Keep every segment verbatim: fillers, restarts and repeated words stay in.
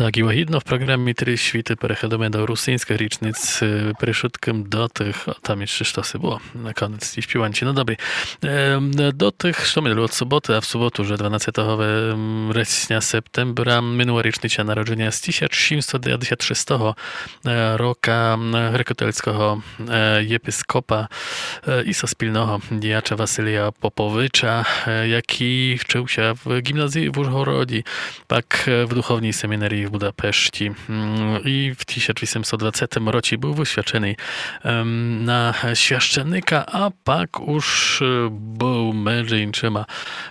Так, і лагідно в програмі «Три світы» переходиме до русиньскых річниць, е, перед вшыткым до тых, о, там іщы штоси было на конець тієї співанчы. Но добрі. Е, до тых, што минулого соботы, а в соботу вже дванадцятого ве-, вересня, септембра, минула річниця народженя з тисяч сімсот девятдесят шестого, е, рока, м, грекокатолицького, е, єпископа, е, і соспільного діяча Василія Поповича, е, якій вчыв ся в ґімназії в Ужгороді, пак, е, в духовній семінарії в Будапешті. М, і в тисяч вісемсот двадцятым році быв высвяченый, ем, на священника, а пак уж, е, быв меджи іншыма,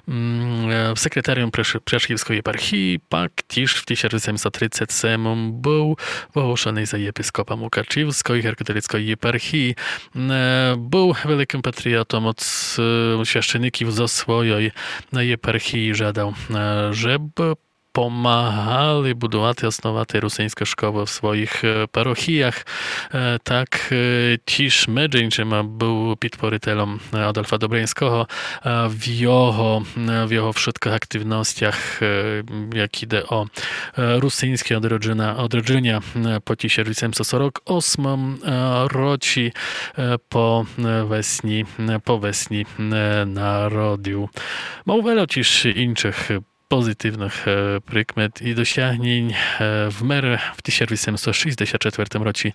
м, е, секретарьом Преш-, Пряшівской єпархії, пак тіж в тисяч вісемсот тридцять семым быв оголошеный за єпископа Мукачівской грекокатолицькой єпархії. Е, быв великым патріотом од, е, священників зо свойой, е, єпархії, жадав, е, жебы помагали будувати, основати русиньскы школы в своіх, е, парохіях. Е, так, е, тіж меджи іншыма быв підпорителем, е, Адольфа Добриньского, е, в його, е, в його вшыткых активностях, е, як іде о, е, русиньске одроджына-, одроджыня, е, по тисяч вісемсот сорок осмым, е, році, е, по, е, весні, е, по весні, е, народів. Мав вельо тіж іншых позитивных, е, прикмет і досягнень, е, вмер в тисяч вісемсот шістдесят четвертым році,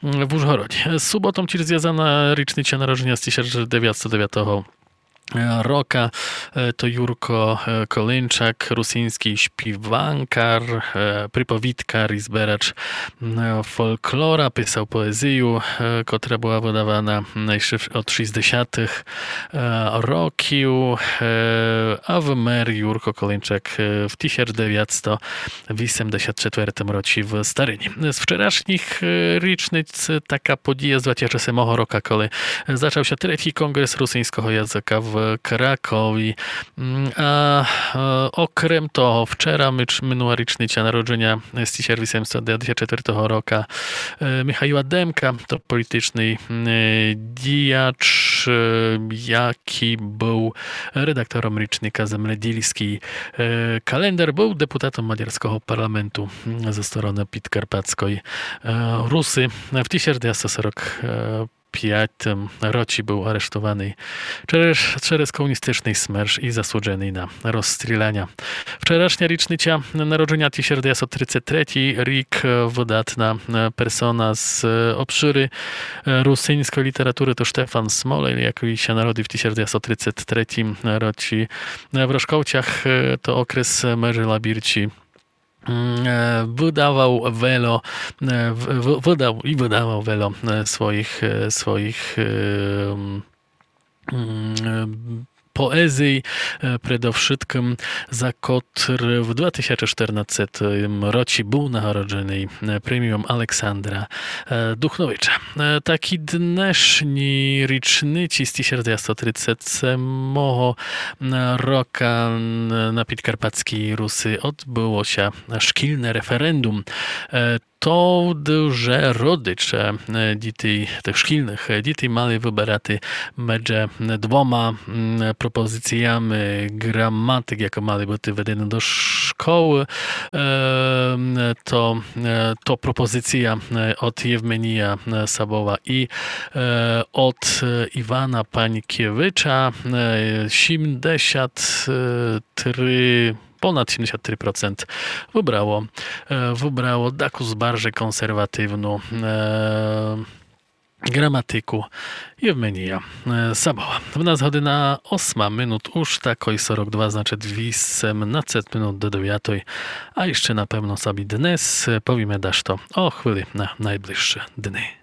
м, в Ужгороді. З суботом тіж звязана річниця народженя з тисяч девятсот девятого, е, рока. Е, то Юрко, е, Колинчак, русиньскій співанкар, е, приповідкар і зберач, м, фолклора, писав поезію, е, котра была выдавана, м, іщы в-, од шістдесятых, е, років, е, а вмер Юрко Колинчак, е, в тисяч девятсот вісемдесят четвертым році в Старині. З вчерашніх, е, річниць така подія зватя ся семого рока, коли зачав ся третій конґрес русиньского языка в Кракові. М, а, е, окрем того, вчера мич-, минула річниця народженя з тисяч вісемсот девятдесят четвертого рока, е, Михайла Демка, то політичный, е, діяч, е, якій быв редактором річника «Земледїльскій, е, календар», быв депутатом мадярского парламенту, м, зо стороны підкарпатской, е, Руси. В тисяч девятсот сорок пятым році быв арештованый через, через комуністичный смерч і засудженый на розстріляня. Вчерашня річниця народженя, тисяч девятсот тридцет третій рік, е, выдатна, е, персона з, е, обшыры, е, русиньской літературы, то Штефан Смолей, якій ся народив в тисяч девятсот тридцет третім році, е, в Рошковцях, е, то окрес межи Лабірці. М, е, выдавал вельо, е, в-, в-, выдал і выдавал вельо, е, своіх, е, своіх, е, м, м, е, поезій, е, предовшыткым за котр в два тисячы штернадцятым році быв нагородженый, е, преміом Александра, е, Духновича. Е, так і днешні річниці з тисяч девятсот тридцет семого рока н-, на підкарпатскій Руси одбыло ся шкільне референдум. Е, то вже родиче, е, дітей, тых шкільных, е, дітей мали выберати медже двома, м, пропозиціями граматик, якы мали быти введені до школы. Е, м, то, е, то пропозиція, е, од Євменія, е, Сабова і, е, од, е, Івана Панькевича, е, сімдесят три, понад сімдесят три процент выбрало, е, выбрало дакус баржей консервативну, е, граматику Євменія, е, Сабова. В нас година осма минут уж такой сорок два, значыт вісемнадцет минут до девятой. А іщы напевно собі днес, е, повіме дашто о хвили на найближшы дни.